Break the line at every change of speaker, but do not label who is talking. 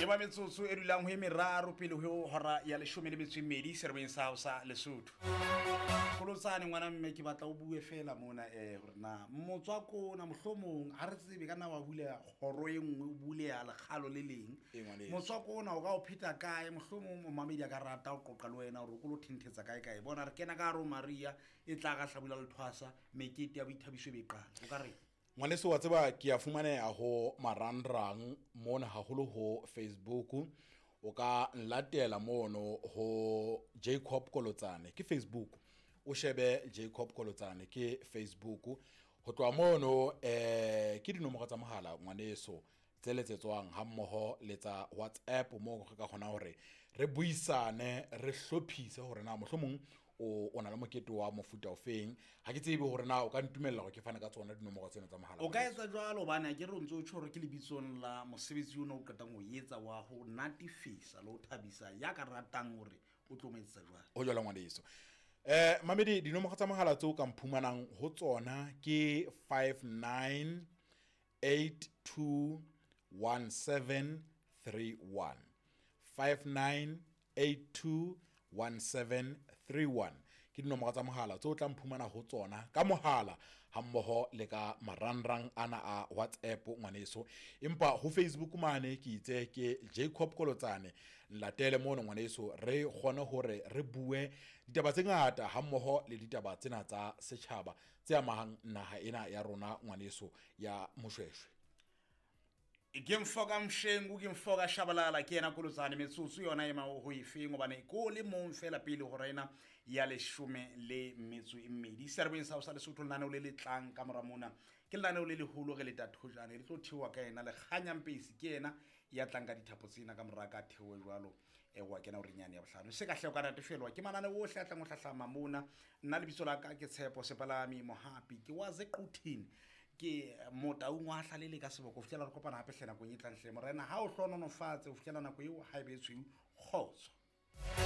Ba metsotso e dulang ho e meraro pele ho hora ya leshome le metso e mmedi serobeng sa hao sa Lesotho. Kolotsane ngwana mme, ke batla o bue fela mona hore na motswako ona mohlomong ha re tsebe ka nna wa buleha kgoro e nngwe, o buleha lekgalo le leng.
Ee, ngwaneso.
Motswako ona o ka o pheta kae? Mohlomong momamedi a ka rata ho qoqa le wena hore o ko lo thenthetsa kae kae. Bona re kena ka hare ho Maria e tla ka hlabula le thwasa, mekete ya boithabiso e be e qala. O ka reng?
Ngwaneso, wa tseba ke a fumaneha ho marangrang mona, haholo ho Facebook. O ka nlatela mono ho Jacob Kolotsane, ke Facebook. O shebe Jacob Kolotsane, ke Facebook. Ho tloha mono ke dinomoro tsa mohala, ngwaneso, tse letsetswang ha mmoho le tsa WhatsApp, moo re ka kgona hore re buisane, re hlophise hore na mohlomong o na le mokete wa mofuta ofeng. Ha ke tsebe hore na o ka ntumella hore ke fane ka tsona dinomoro tsena tsa mohala.
O ka etsa jwalo, hobane a ke re o ntso o tjho hore ke lebitsong la mosebetsi ona o qetang ho etsa wa ho natefisa le ho thabisa ya ka ratang hore o tlo mo etsetsa jwang.
Ho jwalo, ngwaneso. Mamedi, dinomoro tsa mohala tseo ka mphumanang ho tsona ke 59 82 17 31, 59 82 17 31 ke dinomoro tsa mohala tseo tla mphumana ho tsona ka mohala ha mmoho le ka marangrang ana a WhatsApp, ngwaneso. Empa ho Facebook mane ke itse ke Jacob Kolotsane, nlatele mono, ngwaneso, re kgone hore re bue ditaba tse ngata ha mmoho le ditaba tsena tsa setjhaba tse amahang naha ena ya rona, ngwaneso, ya Moshweshwe.
Ke mfoka Mshengu, ke mfoka Shabalala, ke yena Kolotsane. Metsotso yona ema ho efeng, hobane ko le mong fela pele hora ena ya leshome le metso e mmedi serebeng sa ho sa Lesotho. Lenaneo le le tlang ka mora mona ke lenaneo le leholo, re leta thojane le tlo theoha ka ena Lekganyampesi, ke yena ya tlang ka dithapo tsena ka mora ka theohe jwalo. Wa kena o renyane ya bohlano se ka hle o ka natefelwa ke manane ohle a tlang ho hlahlama mona. Nna lebitso la ka ke Tshepo Sepalami Mohapi, ke wa Zequthini, ke motaung wa hlalele ka seboko. Ho fihlela re kopana hape hle nakong e tlang hle, morena ha o hlononofatse. Ho fihlela nako eo, ha e be e tshweu, kgotso.